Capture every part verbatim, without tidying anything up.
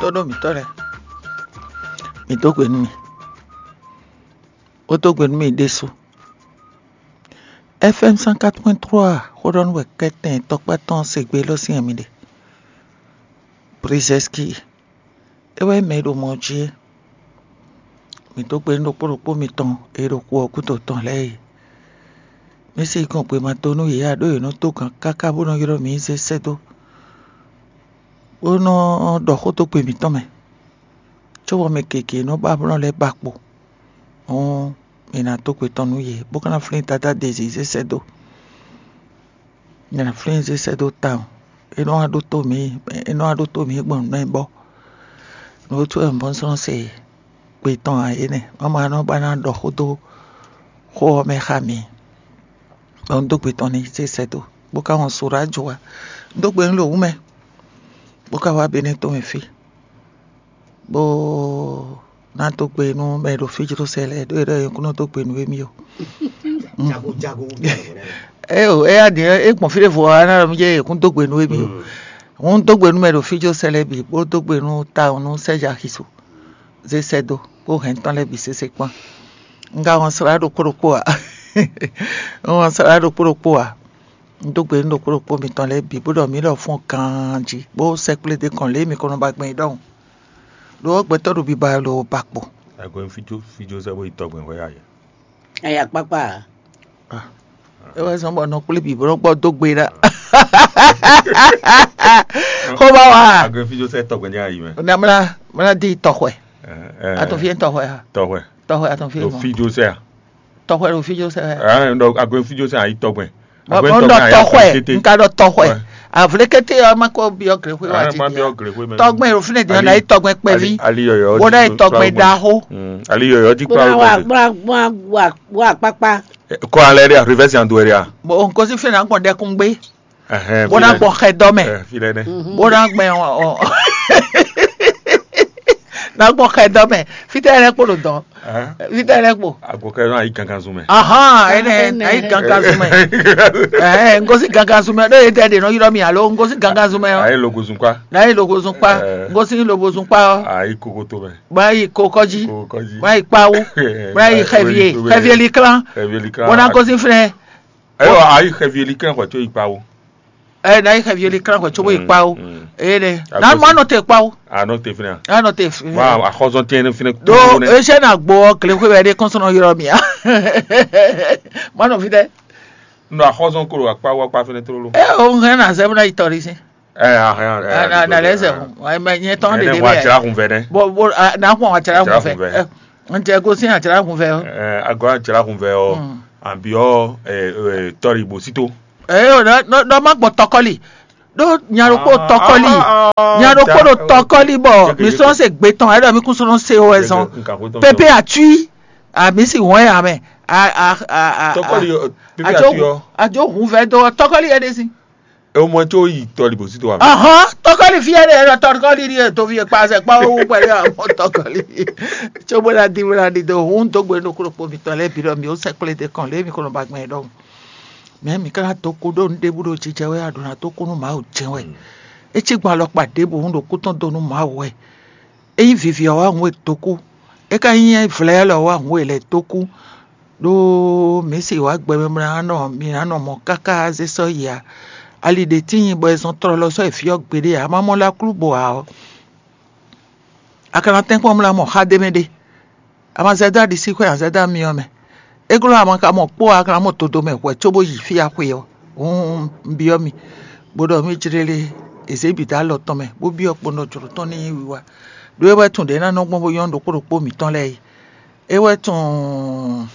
Xóɖó mǐtɔn lɛ́ɛ, mǐ dó gbe nú mì, bó dó gbe nú mì ɖésú. F M cent quatre point trois xóɖɔnú wɛ kɛ́tɛn tɔkpá tɔn se gbe élɔ́ sín mi ɖe. Brizeski, é wɛ mɛ e ɖo mɔ jí é. Mǐ dó gbe nú ɖokpó ɖokpó mitɔn e ɖo xu ɔ́ gúdo tɔn lɛ́ɛ é. Mǐ sixú gbɔn gbe ma dó nú yě ǎ, ɖó yě nɔ dó gǎn káká bó nɔ ylɔ́ mǐ zé sɛ́ dó, bó nɔ ɖɔ xó dó gbe mǐtɔn mɛ, cóbɔ mɛ gěgé e nɔ ba blɔ́ lɛ́ɛ ba kpo. Hǔn mǐ ná dó gbe tɔn nú yě, bó ka ná flín Dadá Dezí zé sɛ́ dó. Mǐ ná flín zé sɛ́ dó tawun. É nɔ wá ɖótó mǐ, é nɔ wá ɖótó mǐ gbɔn nǔ e bɔ nǔ e wútu wɛ un bɔ́ sɔ́ se gbe tɔn ǎ é nɛ́. Má ma nɔ ba ná ɖɔ xó dó xó ɔ́ mɛ xá mǐ. Bɔ un dó gbe tɔn n'i zé sɛ́ dó, bó ka wɔn Sorá jó wá. Un dó gbe nú ɖo wǔ mɛ, bó ka wá Benɛ́ tɔn mɛ fí, bó ná dó gbe nú mɛ e ɖo fí jló sɛ lɛ́ɛ, ɖó é ɖɔ yě kún nɔ dó gbe nú émí ó. Jago jago. Ée o, éyá din é gbɔn fí ɖěvo ɔ́, é ná ɖɔ mì jɛ yě kún dó gbe nú émí ó. Hǔn un dó gbe nú mɛ e ɖo fí jló sɛ lɛ́ɛ bǐ, bó dó gbe nú tawun nú Sɛ́ja Xisu, zé sɛ́ dó, kpó hɛn tɔn lɛ́ɛ bǐ sésé kpán. Un ka wɔn slá ɖokpó ɖokpó ǎ. Un wɔn slá ɖokpó ɖokpó ǎ. Un dó gbe nú ɖokpó ɖokpó mitɔn lɛ́ɛ bǐ, bó ɖɔ mǐ lɔ fɔ́n ganjí, bó sɛkplé ɖé kɔn lě e mi ko nɔ ba gbɛn é ɖɔhun. Ɖó ɔ́, gbɛtɔ́ ɖo biba lo ba kpo. Agbɛ́n fíjó fíjó sɛ́ bó yi tɔgbɛn hwɛ ayɛ. Aya kpákpá ǎ. É wɛ zɔ́n bɔ nɔ kplé bǐ bó nɔ gbɔ dó gbe ɖa. Xó ba wa. Agbɛ́n fíjó sɛ́ tɔgbɛn jɛ ayi mɛ. Na mla mla di tɔxwɛ. Atɔn fie tɔxwɛ ha. Tɔxwɛ. Tɔxwɛ atɔn fie. Ɖo mɔ. Fíjó sɛ́ a. Tɔxwɛ ɖo fíjó sɛ́. Ɛɛ ɖɔ agbɛ́n fíjó sɛ́ ayi tɔgbɛn. Bɔn ɖɔ tɔxwɛ, n ka ɖɔ tɔxwɛ. Avlékété ɔ́ má kó byɔ́ gréxwé wá títí. Tɔgbɛn ɖo fínɛ́ din ɔ́ ná yi tɔgbɛn kpɛví. Bó ná yi tɔgbɛn ɖaxó. Ali yɔyɔ jí kpá wá. Wá kpákpá. Kɔ alɛ ɖe a, reverse and do ɖe a. Bɔn n gosí fínɛ́ ná gbɔn ɖɛkúngbé. Bó ná gbɔn xɛdɔ́ mɛ. Bó ná gbɛn ɔ. Ná gbɔn xɛdɔ́ mɛ. Fítɛ́ lɛ́ kpo ɖo dɔn. Fítɛ́ lɛ́ kpo. Agɔkɛ nɔ ayi gangan zun mɛ. Ahán, ɛnɛ ayi gangan zun mɛ. Ɛɛ, n gosí gangan zun mɛ. Ɖó yé tɛ ɖe nɔ ylɔ́ mi alo n gosí gangan zun mɛ ɔ́. Ayi logo zun kpa. Ná yi logo zun kpa. N gosí lobo zun kpa ɔ́. Ayi kokoto mɛ. Bá yi kokɔjí. Kokɔjí. Bá yi kpawú. Bá yi xɛvie. Xɛvie liklán. Xɛvie liklán. Bó ná gosí fínɛ́. Ɛyɔ ayi xɛvie liklán xɔ tso yi kpawú. Ɛ na yi xɛ vieli klan xɔ tso bó yi kpa o. Eye nɛ na ma nɔ te kpa o. Anɔ te fina. Anɔ te fina. Wa axɔzɔn tɛ ne fina. Do ese na gbɔ kle xwe bɛ de kɔnsɔn yɔrɔ mi a. Ma nɔ fi dɛ. Nɔ axɔzɔn kolo akpa wa kpa fina tlolo. Ɛ o hɛn na zɛ na yi tɔ de si. Ɛ ahɛn. Na na lɛ zɛ o. Wa mɛ nyɛ tɔn de de bɛ. Wa tsira kun fɛ dɛ. Bo bo na kun wa tsira kun fɛ. N tɛ gosin a tsira kun fɛ o. Ɛ agɔ a tsira kun fɛ o. An bi ɔ tɔri bosito. Eyo, ɖɔ má gbɔ tɔkɔli. Ɖó nya ɖokpó tɔkɔli. Nya ɖokpó ɖo tɔkɔli bɔ mi sɔn se gbe tɔn, ɛɖɔ mi kún sɔn se o ɛzɔn. Pepe atui. A mi si wɔn ya mɛ. A a a a. Tɔkɔli pepe atui ɔ. Adzo hun vɛ do tɔkɔli yɛ ɖe si. E mɔ tso yi tɔli bosito wa. Ahɔn tɔkɔli fi yɛ ɖe, ɛɖɔ tɔkɔli ɖi to fi kpa sɛ kpa wo pɛlɛ amɔ tɔkɔli. Tso bó la di bó la di do hun dogbe ɖokpó ɖokpó mi tɔ lɛ bi ɖɔ mi o sɛ kple de kɔn lɛ mi kɔnɔ ba gbɛn ɖɔ. Mɛ mǐ ka ná dó kú ɖó nǔ ɖěbǔ ɖo jijɛ wɛ a ɖǒ ná dó kú nú Mawu jɛ́n wɛ. É cí gbɔn alɔkpa ɖěbǔ ɖo kú tɔn dó nú Mawu wɛ. É nyí vivi ɔ́ wá hun e dó kú. É ka nyí vlɛ̌ lɔ wá hun e lɛ̌ dó kú. Ɖó mǐ se wǎ gbɛ mɛ mlá nɔ mǐ ná nɔ mɔ̌ káká zé sɔ́ yi ǎ. Ali ɖě tíin bɔ è zɔn tlɔlɔ sɔ́ yi fí ɔ́ gbeɖé ǎ, má mɔ lá klú bo ǎ ɔ́. A ka ná tɛ́nkpɔ́n mlá mɔ xá ɖé mɛ ɖé. A ma zɛ dó aɖisíxwé a zɛ dó amyɔ mɛ. É glɔ́ a ma ka mɔ kpó a ka ná mɔ todo mɛ hwɛ̌ cóbó yi fí a xwe ɔ́. Hǔn un byɔ́ mi, bó ɖɔ mí jlélé è zě bǐ dó alɔ tɔn mɛ, bó byɔ́ kpɔ́n ɖɔ jlǒ tɔn ní nyí wiwa. Ɖó é wɛ tunwun ɖě ná nɔ gbɔn bó nyɔ́ ɖokpó ɖokpó mǐtɔn lɛ́ɛ é. É wɛ tunwun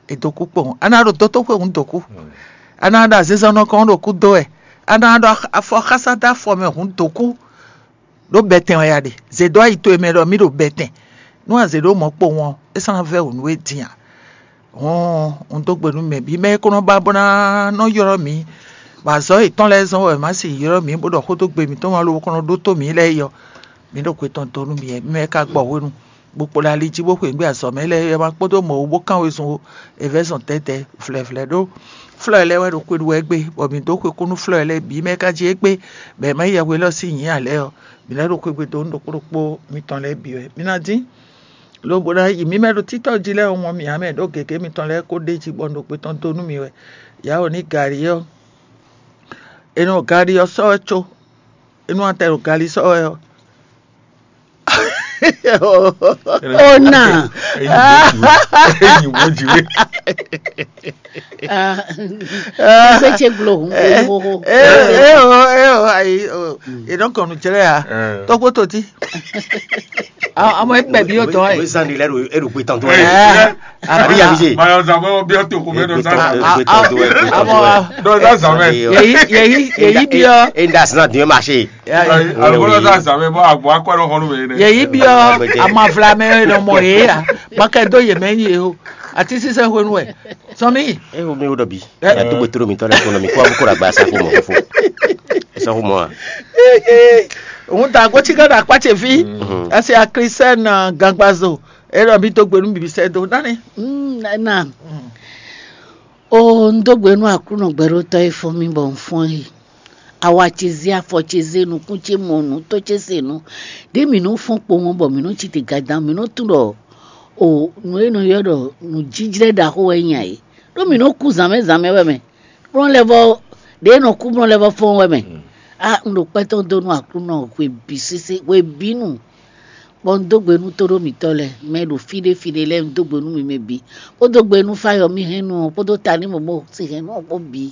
è dǒ kú kpowun. A ná ɖo dótóxwe hǔn dǒ kú. A ná ɖo azinzɔnnɔ kɔn ɖo kú dó wɛ. A ná ɖo afɔ xásá dó afɔ mɛ hǔn dǒ kú. Ɖó bɛtɛn wɛ a ɖe. Zě dó ayi towe mɛ ɖɔ mí ɖo bɛtɛn. Nú a zě ɖó mɔ̌ kpowun ɔ́, é sɔ́ ná vɛ́ wǔ nú we din a? Hɔn un dó gbe nú mɛ bǐ mɛ e ko nɔ ba bó ná nɔ ylɔ́ mǐ, bɔ azɔ̌ yětɔn lɛ́ɛ zɔ́n wɛ má sì ylɔ́ mǐ bó ɖɔ xó dó gbe mǐtɔn wá lobo ko nɔ ɖótó mǐ lɛ́ɛ é ɔ́, mǐ ɖo xwe tɔn dó nú mǐ, mǐ mɛ ka gbɔ hwenu. bó kpo ɖo ali jí bó xweyǐgbe azɔ̌ mɛ lɛ́ɛ é ma kpódó mɔ̌ wú bó kán wezun ó. È vɛ́ zɔn tɛ́tɛ́ vlɛ̌vlɛ́ ɖó flɔ́ lɛ́ɛ wɛ ɖo xwe ɖu wɛ gbé, bɔ mǐ dó xwe kú nú flɔ́ lɛ́ɛ bǐ mɛ ka jí égbé, bɔ è ma yí yɛhwe élɔ́ sín nyǐ ǎ lɛ́ɛ ɔ́, mǐ lɛ́ ɖo xwegbe dó nú ɖokpó ɖokpó mitɔn lɛ́ɛ bǐ wɛ. Mǐ ná dín lobo ná yi mǐ mɛ ɖo títɔ́ jí lɛ́ɛ ɔ́, mɔ mǐ ǎ mɛ ɖó gěgé mitɔn lɛ́ɛ kó ɖ'é jí bɔ un ɖo kpé tɔn dó nú mi wɛ. Yǎ wǒ ní gǎlí ɔ́, è nɔ gǎlí ɔ́ sɔ́ wɛ có, é nú atɛ ɖo gǎlí sɔ́ wɛ ɔ́. Ona. Enyi bó jì wé. Gbé ce gbló hùn gbó hóhó. Eo, eo, ayi, e nɔ kɔnu jlɛ ya. Tɔgbo to ti. Ọmọ ẹgbẹ́ bí yóò tọ́ ẹ̀. Zan de lɛ do eɖo gbe tɔn to Ẹ, Àbí yàrá ṣe. Mayɔ zan mɛ biɔ to ko mɛ dɔ sa. Gbe tɔn to ɛ. Àmọ́ Dɔ sa zan mɛ. Yèyí yèyí yèyí biɔ Enda sinna dùn ma ṣe. Alukolo sa zan mɛ bɔ agbɔ akɔ ɛrɔ xɔnu mɛ nɛ. Yèyí biɔ amavlamɛ nɔ mɔ yě ya. Makɛ dó yě mɛ yé o. Àti sísɛ hwenu ɛ. Sɔmi. E wo mi wo dɔ bi. Ya to gbetoro mi tɔ lɛ ko nɔ mi kó abu kó la gba sa ko mɔ ko fo. Sa ko mɔ a. Òun ta agbótsígá ɖo akpátsɛ fí. Ɛsɛ akrisɛ na gangbazo. Erɔ mi tó gbenu bìbí sɛ dó nani. Na o n dó gbe nú Aklúnɔ gbɛɖótɔ́ e fɔ́n mì bɔ un fɔ́n yi. Awa ce zé, afɔ ce zé, nukún ce mɔ nǔ, tó ce se nǔ. Ɖě mǐ nɔ́ fɔ́n kpowun bɔ mǐ nɔ́ ci te gadan, mǐ nɔ́ tunwun ɖɔ o nǔ e nɔ ylɔ́ ɖɔ nǔjíjlɛ́ ɖaxó wɛ nyí ǎ é. Ɖó mǐ nɔ́ kú zǎnmɛ zǎnmɛ wɛ mɛ. Blɔ́n lɛ́ vɔ ɖě e nɔ kú blɔ́n lɛ́ vɔ fɔ́n wɛ mɛ. A un ɖo kpɛ́ tɔn dó nú Aklúnɔ hwe bǐ sésé, hwe bǐ nu. Bɔ un dó gbe nú tóɖó mǐtɔn lɛ́ɛ, mɛ e ɖo fí ɖé fí ɖé lɛ́ɛ, un dó gbe nú mi mɛ bǐ, bó dó gbe nú Fáyɔmí hɛn nu ɔ́ kpódó Tanímɔ̌mɔ́ sín hɛn nu ɔ́ kpó bǐ.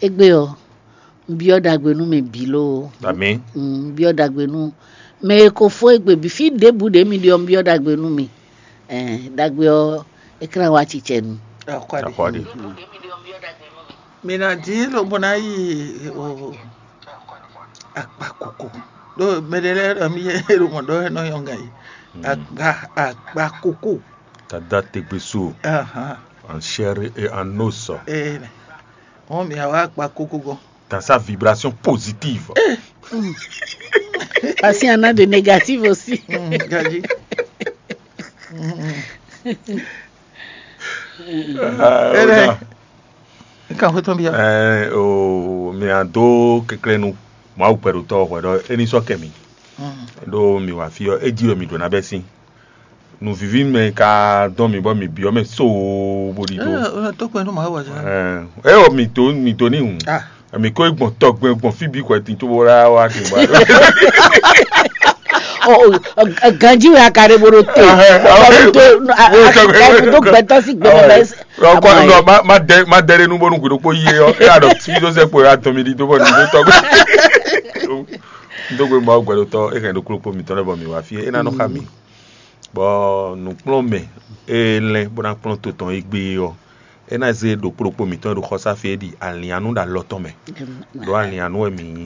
Égbé ɔ́, un byɔ́ ɖagbe nú mɛ bǐ lóó. Amǐ. Un byɔ́ ɖagbe nú mɛ e ko fó égbé bǐ, fí ɖěbǔ ɖě mi ɖe ɔ́, un byɔ́ ɖagbe nú mi. Ɛɛ, ɖagbe ɔ́, é klán wá cicɛ nu. Akɔɖi. Mi ná dín lobo ná yi o akpa koko. Ɖó mɛɖé lɛ́ɛ ɖɔ mí yɛ ɖo mɔ ɖɔ ɛ nɔ yɔn gǎn yi. Akpa akpa koko. Tada tegbeso Ahan. en chair et en os. Ee, wọn mi awa akpa koko gɔn. Dans sa vibration positive. Parce qu'il y en a de négatifs aussi. Mm, gaji. Ah, Ere. Ona. Nkan fo tɔn bia. Eh, o mi a do keklenu Mawu pɛɖotɔ hwɛ ɖɔ eni sɔ kɛ mi. Ɖo mi wa fi ɔ edi wɛ mi ɖo na bɛ sin. Nǔvivi mɛ ka dɔn mi bɔ mi biɔ mɛ so bo ɖi do. Ee, o to kpɛ nu ma wa jɛ. Eh, e o mi to mi to ni hun. Ah. Mi ko gbɔn tɔgbɛ gbɔn fi bi kɔ ti to bo la wa ti ba. Ganji wɛ akare bo ɖo te. Ɖo gbɛtɔ si gbɛmɛ bɛ. Rɔkɔ nɔ ma ma dɛ ma dɛ nu bɔnu kudo kpo yie ɔ e adɔ fi do sɛ kpo ya tɔn mi di do bɔ nu do tɔgbɛ. Do gbe ma gbɛdotɔ e kɛn do klo kpo mi tɔn lɛ bɔ mi wa fi e na nɔ xa mi. Bɔ nukplɔnmɛ e lɛn bó ná kplɔn to tɔn e gbé ɔ e ná zé ɖokpó ɖokpó mǐtɔn e ɖo xɔsáfi é ɖi alianú ɖo alɔ tɔn mɛ. Ɖó alianú wɛ mǐ nyí.